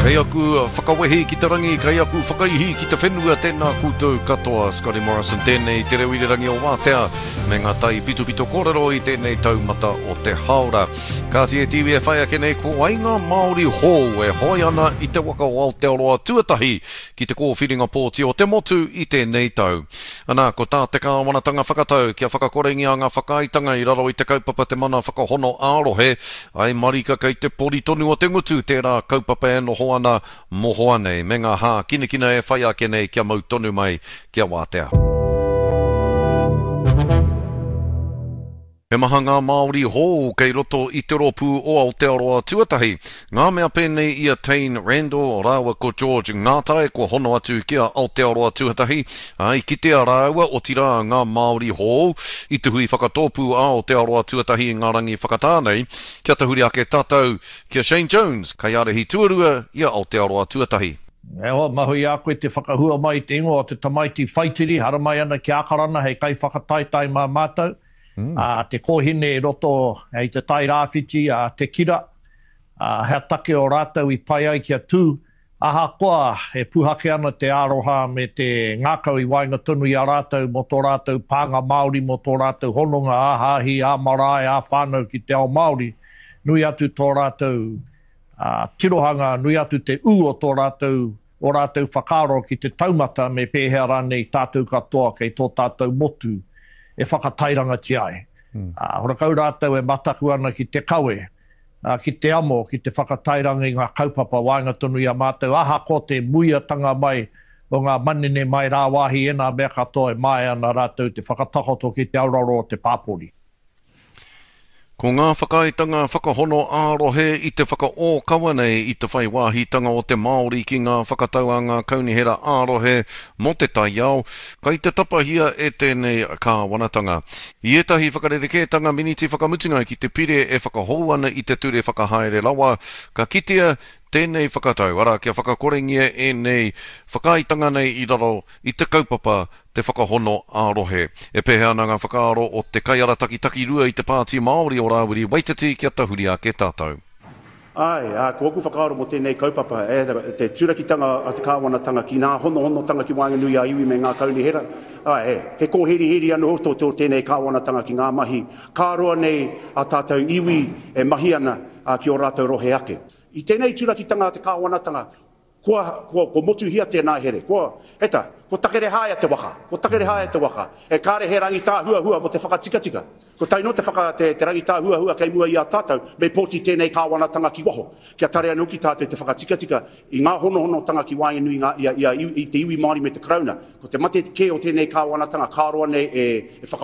Kei aku whakawehi ki te rangi, kei aku whakaihi ki te whenua, tēnā koutou katoa. Scotty Morrison tēnei, te reo irirangi o Wātea, me ngā tai pitopito kōrero i tēnei taumata o te hāora. Kāti e te iwi e whai ake nei, ko wai ngā Māori hou e hoe ana i te waka o Aotearoa tuatahi ki te kōwhiringa pōti o te motu i tēnei tau. Anā, ko tā te kāwanatanga whakatau kia whakakorengia ngā whakaaetanga i raro i te kaupapa Te Mana Whakahono ā-Rohe, Ae marika kei te pori tonu o te ngutu tērā kaupapa e noho ana mohoa nei, me ngā hākinakina e whai ake nei kia mau tonu mai kia wātea. He maha ngā Māori hou kei roto i te rōpū o Aotearoa Tuatahi. Ngā mea pēnei i a Taine Randell rāua ko George Ngātai kua hono atu ki a Aotearoa Tuatahi, ā, i kitea rāua, otirā ngā Māori hou, i te hui whakatōpū a Aotearoa Tuatahi i ngā rangi whakatā nei, kia tahuri ake tātou ki a Shane Jones, kaiārahi tuarua i a Aotearoa Tuatahi. E hoa, mahu i a koe te whakahua mai i te ingoa o te tamaiti whaitiri, haramai ana ki Ākarana hei kaiwhakataetae mā mātou. Ā, te kōhine i roto i te Tai Rāwhiti, a Te Kira, ā, hea take o rātou i pai ai kia tū, ahakoa e puhake ana te aroha me te ngākau i waenga tonu i a rātou mō tō rātou pānga Māori, mō tō rātou hononga ā-hāhi, ā-marae, ā-whānau ki te ao Māori, nui atu tō rātou tirohanga, nui atu te ū o tō rātou ō rātou whakaaro ki te taumata me pēhea rānei tātou katoa kei tō tātou motu e whakatairangatia ai. Ā, horakau rātou e mataku ana ki te kawe, ā, ki te amo, ki te whakatairanga i ngā kaupapa waenga tonu i a mātou, ahakoa te muiatanga mai o ngā manene mai rāwāhi ēnā mea katoa e māia ana rātou te whakatakoto ki te auraro o te pāpori. Ko ngā whakaaetanga whakahono ā-rohe i te whakaōkawa nei i te whai wāhitanga o te Māori ki ngā whakatau a ngā kaunihera ā-rohe mō te taiao, kai te tapahia e tēnei kāwanatanga. I ētahi whakarerekētanga miniti whakamutunga ki te pire e whakahou ana i te Ture Whakahaere Rawa, ka kitea tēnei whakatau, arā, kia whakakorengia ēnei whakaaetanga nei i raro i te kaupapa te whakahono ā-rohe. E pēhea ana ngā whakaaro o te kaiarataki takirua i te Pāti Māori o Rāwiri Waititi kia tahuri ake tātou? Āe, ā, ko ōku whakaaro mō tēnei kaupapa, e, te turakitanga a te kāwanatanga ki ngā honohonotanga ki waenganui a iwi me ngā kaunihera, āe, he kōheriheri anō tō tō tēnei kāwanatanga ki ngā mahi ka roa nei a tātou iwi e mahi ana ki ō rātou rohe ake. I tēnei turakitanga a te kāwanatanga, Kua, kua, kua motuhia tēnā here. Kua, e ta, kua takerehāia te waka. Kua takerehāia te waka. E kāre he rangitāhuahua mō te whakatikatika. Ko tae noa te whaka, te, te rangitāhuahua kei mua i a tātou, me pōti tēnei kāwanatanga ki waho. Kia tare anō ki tātou te whakatikatika i ngā honohonotanga ki waenganui i ngā, i a, i a, i te iwi Māori me te Karauna. Ko te mate kē o tēnei kāwanatanga, ka roa nei e, e whaka.